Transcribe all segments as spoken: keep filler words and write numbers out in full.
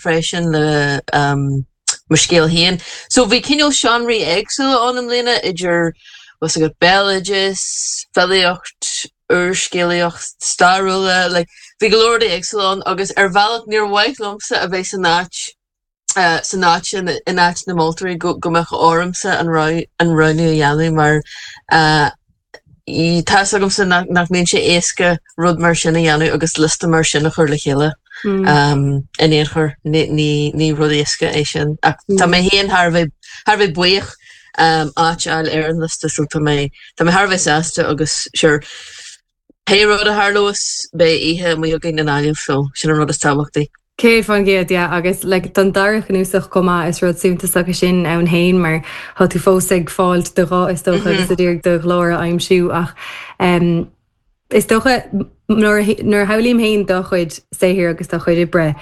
freisin le um, mo scéal féin. So bhí cineál seánraí éagsúla ann i mbliana idir was agat béaloideas, filíocht, úrscéalaíocht, stairiúla, like, bhí go leor éagsúla ann agus ar bhealach níor mhaith liomsa a bheith san áit uh, san áit in, in áit na moltóirí go, go mbeadh ormsa an an roghnú a dhéanamh mar uh, tá agamsa nach, nach mbíonn sé éasca rud mar sin a dhéanamh agus liosta mar sin a chur le chéile. Mm. Um, in aon chor ní, ní, ní rud éasca é sin ach mm. Tá mé féin thar bheith thar bheith buíoch um, áit a fháil ar an liosta so tá mé tá mé thar bheith sásta agus sure pé rud a tharlós beidh oíche maith againn i nGaillimh so sin an rud is tábhachtaí. Céad faoin gcéad yeah, agus like, don dara cnuasach chomh maith is rud suntasach é sin ann féin mar tá tú fós ag fáil do ghuth is dócha agus ag iarraidh do ghlór a aimsiú ach um, is dócha nuair a shamhlaím féin do chuid saothair agus do chuid oibre.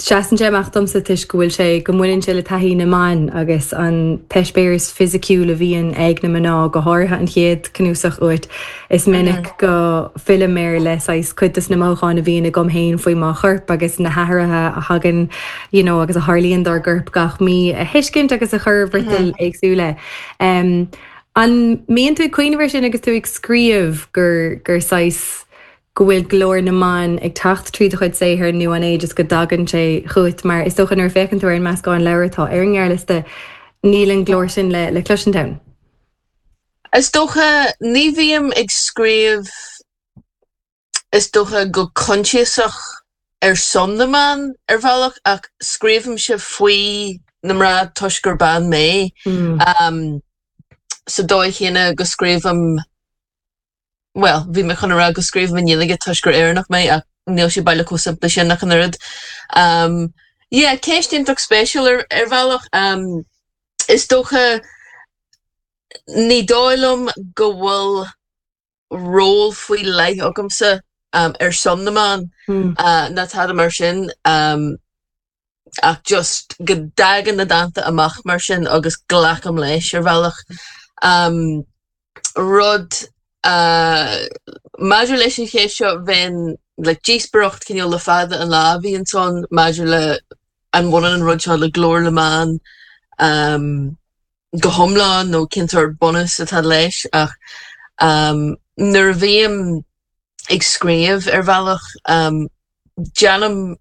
Seasann sé amach domsa toisc go bhfuil sé go mbaineann sé le taithí na mban agus an t-eispéireas fisiciúil a bhíonn ag na mná go háirithe an chéad cnuasach uait is minic mm. go bhfillim air le saghas cuid de na mothúcháin a bhíonn agam féin faoi mo chorp agus na hathruithe a thagann you know, agus a tharlaíonn dár gcorp gach mí a thuiscint agus a chur friotal mm -hmm. éagsúla. Um, an mbíonn tú cuimhneamh sin agus tú ag scríobh gur gur saghas go bhfuil glór na mban ag teacht trí do chuid saothair nó an é just go dtagann sé chugat mar is dócha nuair a fhéachann tú ar an meascán leabhar atá ar an ngearrliosta níl an glór sin le le cloisint ann. Is dócha ní bhím ag scríobh is dócha go coinsiasach ar son na mban ar bhealach ach scríobhaimse faoi na mná toisc gur bean mé. Mm. Um, sa dóigh chéanna go scríobhaim well, bhí mé chun rá go scríobhaim i nGaeilge toisc gur Éireannach mé ach níl sé baileach chomh simplí sin ach an oiread. Um, yeah, ceist iontach spéisiúil ar, ar bhealach um, is dócha ní dóigh liom go bhfuil ról faoi leith agamsa um, ar son na mban mm. uh, ná tada mar sin um, ach just go dtagann na dánta amach mar sin agus glacaim leis ar bhealach. Um, rud uh, maidir leis an cheist seo bheinn le díospóireacht cineál le fada an lá bhí ansan maidir le an bhaineann an rud seo le glór na mban um, go hiomlán nó cén sórt bunús atá leis ach um, nuair a bhím ag scríobh ar bhealach um, déanaim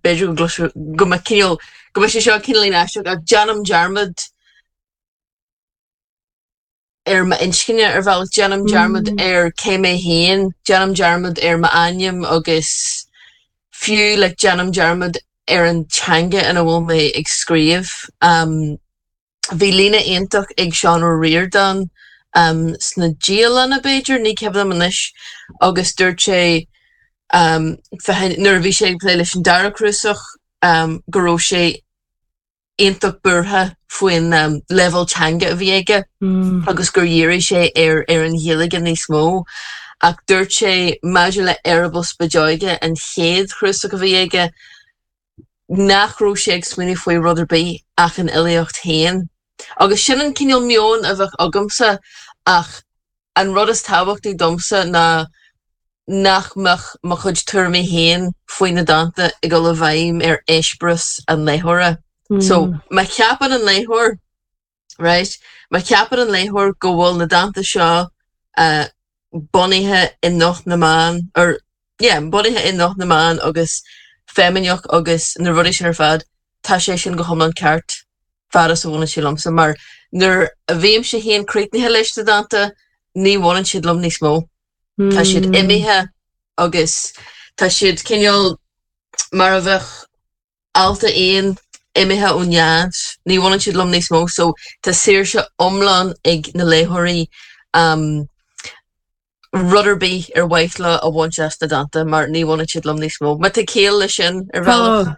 b'fhéidir go go mba cineál go mbeidh sé seo cineál aisteach ach déanaim dearmad ar m'inscne ar bhealach déanaim dearmad Mm. ar cé mé féin, déanaim dearmad ar m'ainm agus fiú le déanaim dearmad ar an teanga ina bhfuil mé ag scríobh. Um, bhí líne iontach ag Seán Ó Ríordáin um, sna dialanna b'fhéidir ní cuimhin liom anois agus dúirt sé um, nuair a bhí sé ag plé leis an dara cnuasach um, go raibh sé iontach buartha faoin um, leibhéal teanga a bhí aige Mm. agus gur dhírigh sé ar ar an Ghaeilge níos mó. Ach dúirt sé maidir le Eireaball Spideoige an chéad chnuasach a bhí aige nach raibh sé ag smaoineamh faoi rud ar bith ach an fhilíocht féin. Agus sin an cineál meon a bheadh agamsa ach an rud is tábhachtaí domsa ná nach mbeadh mo chuid tuairimí féin faoi na dánta ag dul i bhfeidhm ar eispéireas an léitheora. So Mm. má cheapann an léitheoir right? Má cheapann an léitheoir go bhfuil na dánta seo uh, bunaithe i nguth na mban or yeah, bunaithe i nguth na mban agus feimineach agus na rudaí sin ar fad, tá sé sin go hiomlán ceart fad is a bhaineann sé liomsa mar nuair a bhímse féin críochnaithe leis na dánta ní bhaineann siad liom níos mó. Tá siad Mm. imithe agus tá siad cineál mar a bheadh ealta éin imithe ón nead, ní bhaineann siad liom níos mó, so tá saoirse iomlán ag na léitheoirí um, rud ar bith ar mhaith leo a bhaint as na dánta mar ní bhaineann siad liom níos mó. Má tá ciall leis sin ar bhealach. Tá.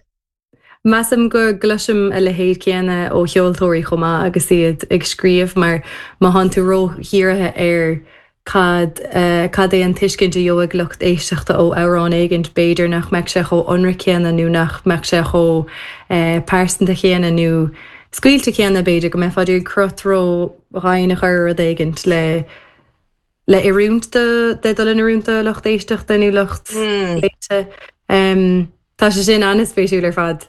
Measaim go gcloisim a leithéid céanna ó cheoltóirí chomh maith agus iad ag scríobh mar má thánn tú ródhírithe ar cad uh, cad é an tuiscint a gheobhaidh lucht éisteachta ó amhrán éigin b'fhéidir nach mbeadh sé chomh ionraic céanna nó nach mbeadh sé chomh uh, pearsanta céanna nó scaoilte céanna b'fhéidir go mbeifeá ag crot ródhian a chur rud éigin le le oiriúint de de dul in oiriúint do lucht éisteachta nó lucht Mm. léite. Um, tá sé sin an-spéisiúil ar fad.